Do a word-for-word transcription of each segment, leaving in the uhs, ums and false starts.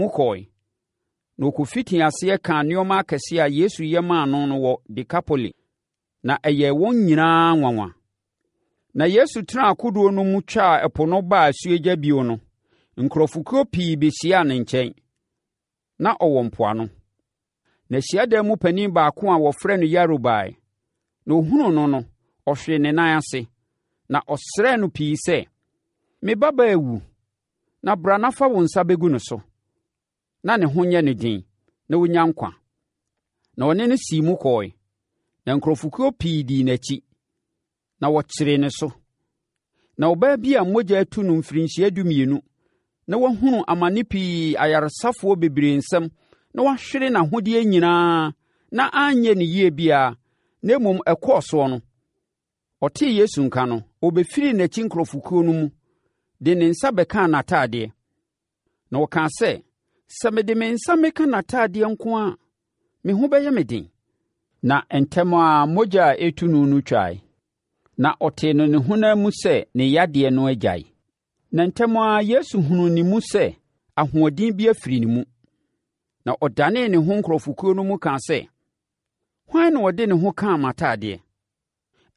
mu kɔeɛ, na ɔkɔfitii aseɛ kaa nneɛma akɛseɛ a Yesu yɛ maa no no wɔ Dekapoli, na ɛyɛɛ wɔn nyinaa nwanwa. Na Yesu tenaa kodoɔ no mu twaa ɛpo no baa asuogya bio no, nkurɔfokuo pii bɛhyiaa ne nkyɛn. Na ɔwɔ mpoano. Na hyiadan mu panin baako a wɔfrɛ no Yairo baeɛ, na ɔhunuu no no, ɔhwee ne nan ase, na ɔsrɛɛ no pii sɛ, “Me babaa awu, na bra na fa wo nsa bɛgu no so, na ne ho nyɛ no den, na ɔnnya nkwa.” Na ɔne no sii mu kɔeɛ. Na nkurɔfokuo pii dii n'akyi, na wɔkyeree ne so. Na ɔbaa bi a mogya atu no mfirinhyia dumienu, na wahunu amane pii ayaresafoɔ bebree nsam na wahwere n'ahodeɛ nyinaa na anyɛ no yie biara, na mmom ɛkɔɔ soɔ no, ɔtee Yesu nka no, ɔbɛfirii n'akyi nkurɔfokuo no mu, de ne nsa bɛkaa n'atadeɛ. Na ɔkaa sɛ, “Sɛ mede me nsa meka n'atadeɛ nko a, me ho bɛyɛ me den.” Na ntɛm ara mogya a ɛretu no no twae, na ɔtee no ne honam mu sɛ ne yadeɛ no agyae. Na ntɛm ara Yesu hunuu ne mu sɛ ahoɔden bi afiri ne mu, na ɔdanee ne ho nkurɔfokuo no mu kaa sɛ, “Hwan na ɔde ne ho kaa m'atadeɛ?”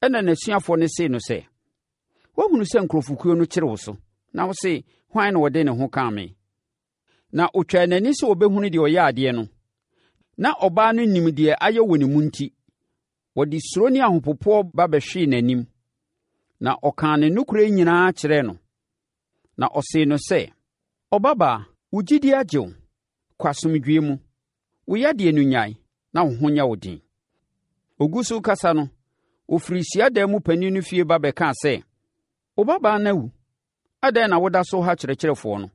Ɛnna n'asuafoɔ no see no sɛ, “Woahunu sɛ nkurɔfokuo no kyere wo so, na wose, 'Hwan na ɔde ne ho kaa me?' Na ɔtwaa n'ani sɛ ɔbɛhunu deɛ ɔyɛɛ adeɛ no. Na ɔbaa no nim deɛ ayɛ wɔ ne mu enti, ɔde suro ne ahopopoɔ ba bɛhwee n'anim, na ɔkaa ne nokorɛ nyinaa kyerɛɛ no. Na ɔsee no sɛ, “Ɔbabaa, wo gyidie agye wo. Kɔ asomdwoeɛ mu. Wo yadeɛ no nnyae, na wo ho nyɛ wo den.” Ɔgu so rekasa no, wɔfirii hyiadan mu panin no fie ba bɛkaa sɛ, “Wo babaa no awu. Adɛn na woda so ha Kyerɛkyerɛfoɔ no?”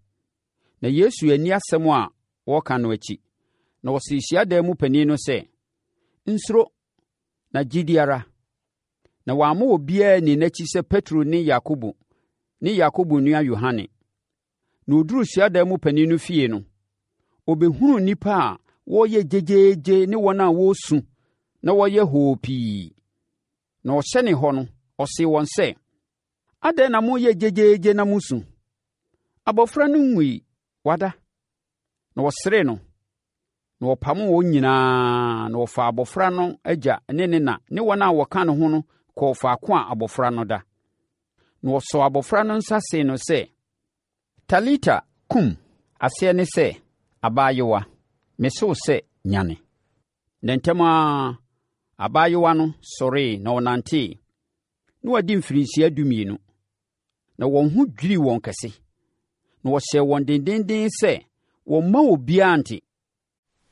Na Yesu anni asɛm a wɔreka no akyi, na ɔsee hyiadan mu panin no sɛ, “Nsuro, na gye di ara.” Na wamma obiara anni n'akyi sɛ Petro ne Yakobo ne Yakobo nua Yohane. Na ɔduruu hyiadan mu panin no fie no, ɔbɛhunuu nnipa a wɔreyɛ gyegyeegye ne wɔn a wɔresu na wɔreyɛ hoo pii. Na ɔhyɛnee hɔ no, ɔsee wɔn sɛ, “Adɛn na moreyɛ gyegyeegye na moresu? Abɔfra no nwui, wada.” Na wɔseree no. Na wɔpamoo wɔn nyinaa, na wɔfaa abɔfra no agya ne ne na ne wɔn a wɔka ne ho no kɔɔ faako a abɔfra no da. Na wɔsɔɔ abɔfra no nsa see no sɛ, “Talita, kum!” Aseɛ ne sɛ, “Abaayewa, mese wo sɛ, nyane!” Na ntɛm ara abaayewa no sɔree na ɔnantee. Na wadi mfirinhyia dumienu. Na wɔn ho dwirii wɔn kɛse. Na wɔhyɛɛ wɔn dendeenden sɛ wɔmma obiara nte.